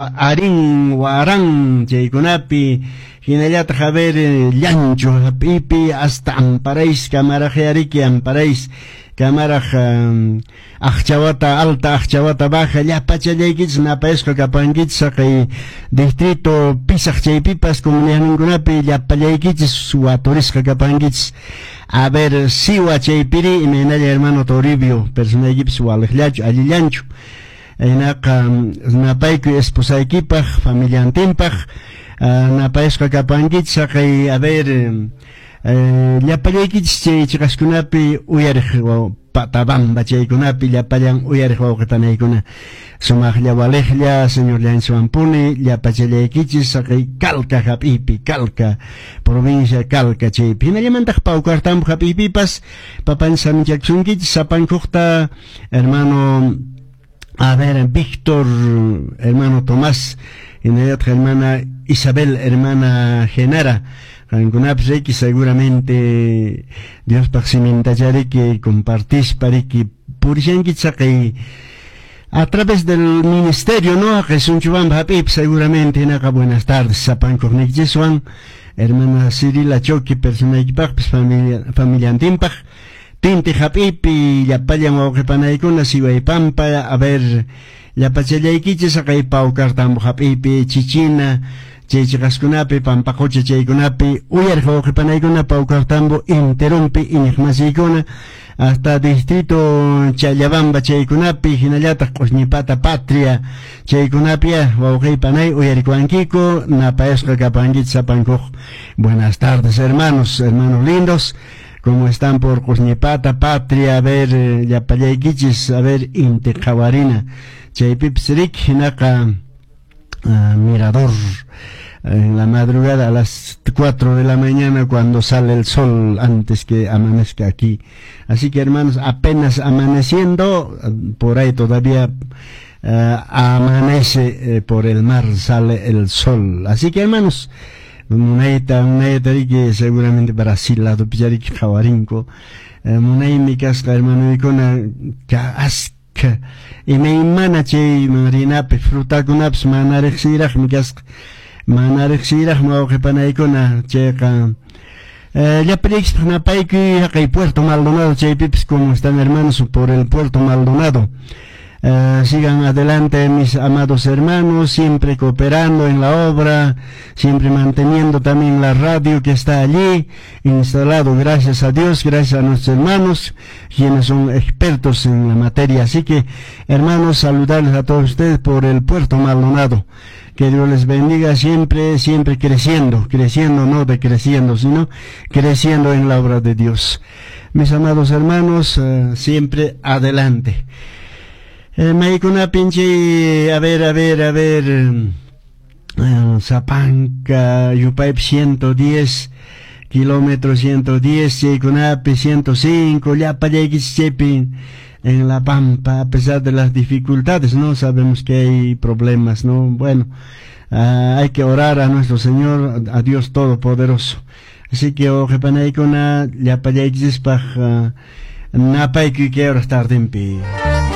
Arin Waran chaykunapi, hinallataq a ver Llancho hap'ipi hasta Amparais kamaraq Amparais kamaraq Aqchawata alta, Aqchawata baja, llapachallaykichis napayasqa kapankichis haqay distrito Pisaq chaypipas comunidadninkunapi llapallaykichis waturisqa kapankichis. A ver Siwa chaypiri imaynalla hermano Toribio personaykipis waliqllachu allillanchu. Hinaqa napaykuy esposaykipaq familiantinpaq napayasqa kapankichis haqay a ver llapallaykichis chay chiqaskunapi uyariq Patabamba chaykunapi llapallan uyariq wawqipanaykuna sumaqlla waliqlla Señorllanchikwanpuni llapachallaykichis haqay Calca hap'iypi, Calca provincia Calca chaypi, hinallamantaq Paucartambo hap'iypipas papanchis saminchakusunkichis sapankuqta hermano a ver Víctor, hermano Tomás, hinallataq hermana Isabel, hermana Genara, qankunapis riki seguramente Diospaq simintachariki compartispa riki purishankichis haqay a través del ministerio, ¿no? Haqay Sunchubamba hap'iypi seguramente. Hinaqa buenas tardes sapankuqniykichiswan hermana Cirila Choki personaykipaqpis familia familiantinpaq Tinti hap'iypi llapallan wawqipanaykuna Siwaypampa a ver llapachallaykichis haqay Paucartambo hap'iypi Chichina chay chiqaskunapi Pampaqucha chaykunapi uyariq wawqipanaykuna Paucartambo enterompi iñiqmasiykuna hasta distrito Challabamba chaykunapi hinallataq Q'usñipata Patria chaykunapi wawqipanay uyarikuwankiku napayasqa kapankichis sapankuq. Buenas tardes, hermanos, hermanos lindos, como están por Q'usñipata Patria, a ver llapallaykichis, a ver Inti Qhawarina chaypipis riki hinaqa mirador en la madrugada a las 4 de la mañana cuando sale el sol antes que amanezca aquí. Así que, hermanos, apenas amaneciendo, por ahí todavía amanece por el mar, sale el sol. Así que, hermanos, munayta munayta riki seguramente Brasil ladopi riki qhawarinku munaymi kasqa hermanoykuna askha imaymana chayman rinapi frutakunapis mana riqsiyraqmi kasqa mana riqsiyraqmi wawqipanaykuna chayqa llapallaykispaq napaykuy haqay Puerto Maldonado chaypipis. Como están, hermanos, por el Puerto Maldonado? Sigan adelante, mis amados hermanos, siempre cooperando en la obra, siempre manteniendo también la radio que está allí instalado, gracias a Dios, gracias a nuestros hermanos, quienes son expertos en la materia. Así que, hermanos, saludarles a todos ustedes por el Puerto Maldonado. Que Dios les bendiga siempre, siempre creciendo, creciendo, no decreciendo, sino creciendo en la obra de Dios. Mis amados hermanos, siempre adelante. Maykunapin a ver, a ver, a ver, Sapanka, yupaypi 110, kilómetro 110, chaykunapi 105, llapallaykichis chaypi en La Pampa, a pesar de las dificultades, ¿no? Sabemos que hay problemas, ¿no? Bueno, hay que orar a nuestro Señor, a Dios Todopoderoso. Así que, wawqipanaykuna, llapallaykichispaq napaykuy kay horas tardempi.